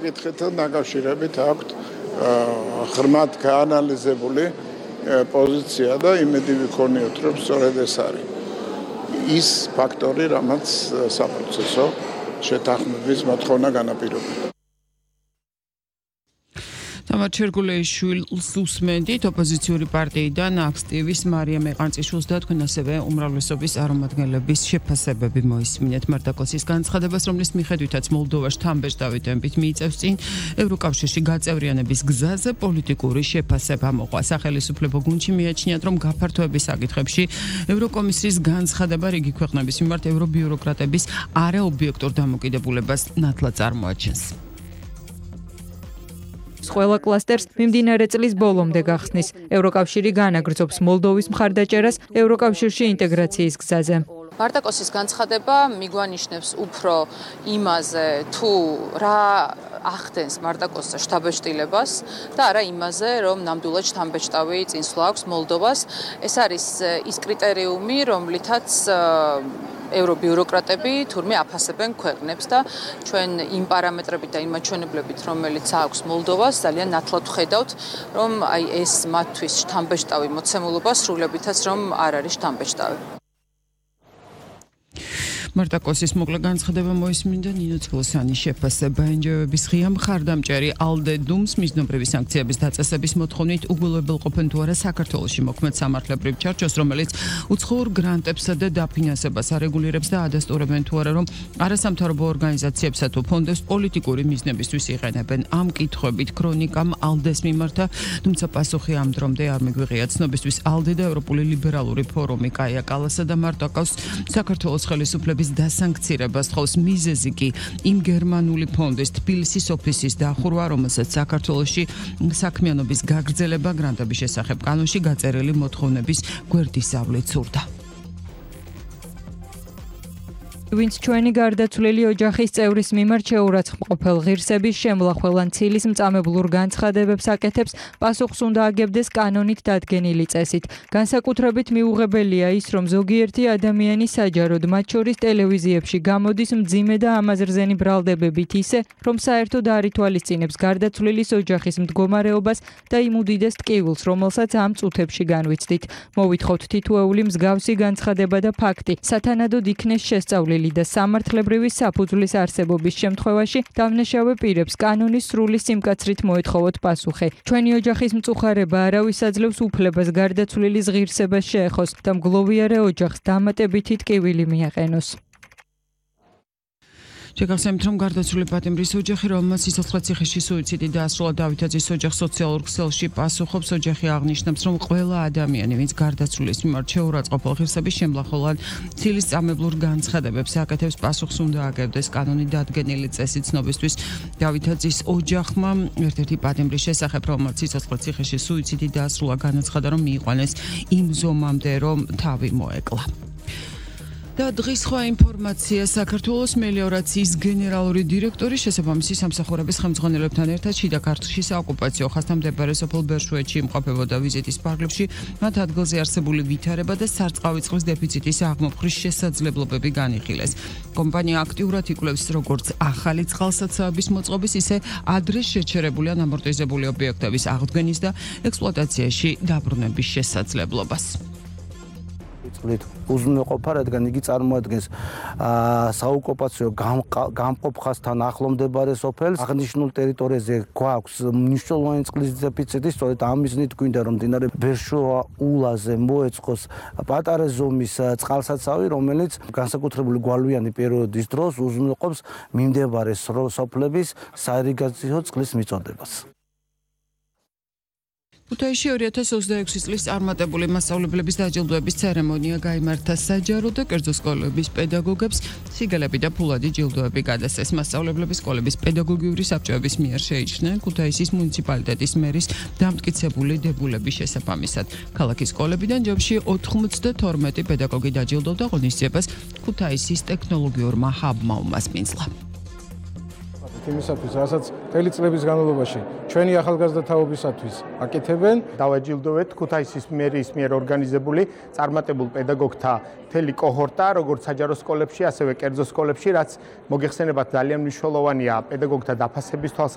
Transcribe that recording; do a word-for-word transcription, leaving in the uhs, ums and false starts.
კითხეთთან დაკავშირებით აქვთ ღრმად გაანალიზებული პოზიცია და იმედი ვიქონიოთ, რომ სწორედ ეს არის ის ფაქტორი, რამაც საპროცესო შეთანხმების მოთხოვნა განაპირობებს. თამარ ჩერგულეიშვილს უსმენდით ოპოზიციური პარტიიდან აქტივის მარია მეყანწიშვილს და თქვენ ასევე უმრავლესობის წარმომადგენლების შეფასებები მოისმინეთ მარტაკოსის განცხადებას, რომლის მიხედვითაც მოლდოვაში თამბეჭდავით მიიწევს წინ ევროკავშირში გაწევრიანების გზაზე პოლიტიკური შეფასება მოყვა. სახელმწიფო გუნდში მიაჩნიათ, რომ გაფართოების საკითხებში ევროკომისიის განცხადება რიგი ქვეყნების მიმართ ევრობიუროკრატების არაობიექტურ დამოკიდებულებას ნათლად წარმოაჩენს. ყველა კლასტერს მიმდინარე წლის ბოლომდე გახსნის. ევროკავშირი განაგრძობს მოლდოვის მხარდაჭერას ევროკავშირში ინტეგრაციის გზაზე. მარტაკოსის განცხადება მიგვანიშნებს უფრო იმაზე, თუ რა ახდენს მარტაკოსს შთაბეჭდილებას და არა იმაზე, რომ ნამდვილად შთამბეჭდავი წინსვლა აქვს მოლდოვას. ეს არის ის კრიტერიუმი, რომლითაც ევრობიუროკრატები თურმე აფასებენ ქვეყნებს და ჩვენ იმ პარამეტრებით და იმ მაჩვენებლებით, რომელიც აქვს მოლდოვას, ძალიან ნათლად ვხედავთ, რომ აი ეს მათთვის შთამბეჭდავი მოცემულობა სრულებითაც რომ არ არის შთამბეჭდავი. მარტაკოსის მოკლე განცხადება მოისმინდა ნინო ცგლოსანის შეფასება. ენჯოების ღია მხარდამჭერი ალდე დუმს მიზნობრივი სანქციების დაწესების მოთხოვნით უგულებელყოფენ თუ არა საქართველოში მოქმედ სამართლებრივ ჩარჩოს, რომელიც უცხოურ გრანტებსა და დაფინანსებას არეგულირებს და ადასტურებენ თუ არა, რომ არასამთავრობო ორგანიზაციებსა თუ ფონდებს პოლიტიკური მიზნებისთვის იყენებენ. ამ კითხვებით ქრონიკამ ალდეს მიმართა, თუმცა პასუხი ამ დრომდე არ მიგვიღია. ცნობისთვის ალდე და ევროპული ლიბერალური ფორუმი კაია კალასა და მარტაკოს საქართველოს ხელისუფლების დასანქცირებას თხოვს. მიზეზი კი იმ გერმანული ფონდის თბილისის ოფისის დახურვა, რომელსაც საქართველოში საქმიანობის გაგრძელება გრანტების შესახებ კანონში გაწერილი მოთხოვნების გვერდისავლით სურდა. ვინც ჩვენი გარდაცვლილი ოჯახის წევრის მიმართ შეურაცხმყოფელ ღირსების შემლახველან ცილის მწამებლურ განცხადებებს აკეთებს, პასუხს უნდა აგებდეს კანონით დადგენილი წესით. განსაკუთრებით მიუღებელია ის, რომ ზოგიერთი ადამიანი საჯაროდ, მათ შორის ტელევიზიებში გამოდის მძიმე და ამაზრზენი ბრალდებებით ისე, რომ საერთოდ არ ითვალისწინებს გარდაცვლილის ოჯახის მდგომარეობას და იმ უდიდეს ტკივილს, რომელსაც ამ წუთებში განვიცდით. მოვითხოვთ თითოეული მსგავსი განცხადება და ფაქტი სათანადოდ იქნეს შესწავლილი და სამართლებრივი საფუძვლის არსებობის შემთხვევაში დამნაშავე პირებს კანონის სრული სიმკაცრით მოეთხოვოთ პასუხი. ჩვენი ოჯახის მწუხარება არავის აძლევს უფლებას გარდაცვლილის ღირსებას შეეხოს და მგლოვიარე ოჯახს დამატებითი ტკივილი მიაყენოს. შეგახსენებთ, რომ გარდაცვლილი პატიმრის ოჯახი, რომელმაც სიცოცხლეციხეში სუიციდი დაასრულა დავითაძის ოჯახს სოციალურ ქსელში პასუხობს. ოჯახი აღნიშნავს, რომ ყველა ადამიანი, ვინც გარდაცვლილის მიმართ შეურაცხმყოფელ ღირსების შემლახველად ცილის წამებლურ განცხადებებს აკეთებს, პასუხს უნდა აგებდეს კანონით დადგენილი წესით. ცნობისთვის დავითაძის ოჯახმა ერთ-ერთი პატიმრის შესახებ, რომელმაც სიცოცხლეციხეში სუიციდი დაასრულა, განაცხადა, რომ მიიყვანეს იმ ზომამდე, რომ თავი მოეკლა. და დღის სხვა ინფორმაცია. საქართველოს მელიორაციის გენერალური დირექტორი შესაბამისი სამსახურების ხელმძღვანელებთან ერთად შიდა ქართლში საოკუპაციო ხაზთან მდებარე სოფელ ბერშვეეთში იმყოფებოდა. ვიზიტის პარკლებში მათ ადგილზე არსებული ვითარება და სარწყავი წყლის დეფიციტის აღმოფხრის შესაძლებლობები განიხილეს. კომპანია აქტიურად იკვლევს როგორც ახალი წყალსაცავების მოწყობის, ისე ადრე შეჩერებული ან ამორტიზებული ობიექტების აღდგენის და ექსპლუატაციაში დაბრუნების შესაძლებლობას. წყლით უზრუნველყოფა, რადგან იგი წარმოადგენს საოკუპაციო გამყოფ ხაზთან ახლო მდებარე სოფელს. აღნიშნულ ტერიტორიაზე გვაქვს მნიშვნელოვანი წყლის დეფიციტი, სწორედ ამ მიზნით გვინდა, რომ მდინარე ბერშვეა ულაზე მოეწყოს პატარა ზომის წყალსაცავი, რომელიც განსაკუთრებული გვალვიანი პერიოდის დროს უზრუნველყოფს მიმდებარე სოფლების საირიგაციო წყლის მიწოდებას. ქუთაისში ორი ათას ოცდაექვსი წლის წარმატებული მასწავლებლების დაჯილდოების ცერემონია გაიმართა. საჯარო და კერძო სკოლების პედაგოგებს სიგელები და ფულადი ჯილდოები გადასცეს. მასწავლებლების სკოლების პედაგოგიური საბჭოების მიერ შეიჩნენ ქუთაისის მუნიციპალიტეტის მერის დამტკიცებული დებულების შესაბამისად. ქალაქის სკოლებიდან ჯამში ოთხმოცდათორმეტი პედაგოგი დაჯილდოვდა. ღონისძიებას ქუთაისის ტექნოლოგიურმა ჰაბმა უმასპინძლა. იმისათვის, რასაც მთელი წლების განმავლობაში ჩვენი ახალგაზრდა თაობისათვის აკეთებენ. დავაჯილდოვეთ ქუთაისის მერის მიერ ორგანიზებული წარმატებულ პედაგოგთა მთელი კოჰორტა, როგორც საჯარო სკოლებში, ასევე კერძო სკოლებში, რაც მოგეხსენებათ ძალიან მნიშვნელოვანია პედაგოგთა დაფასების თვალსაზრისით.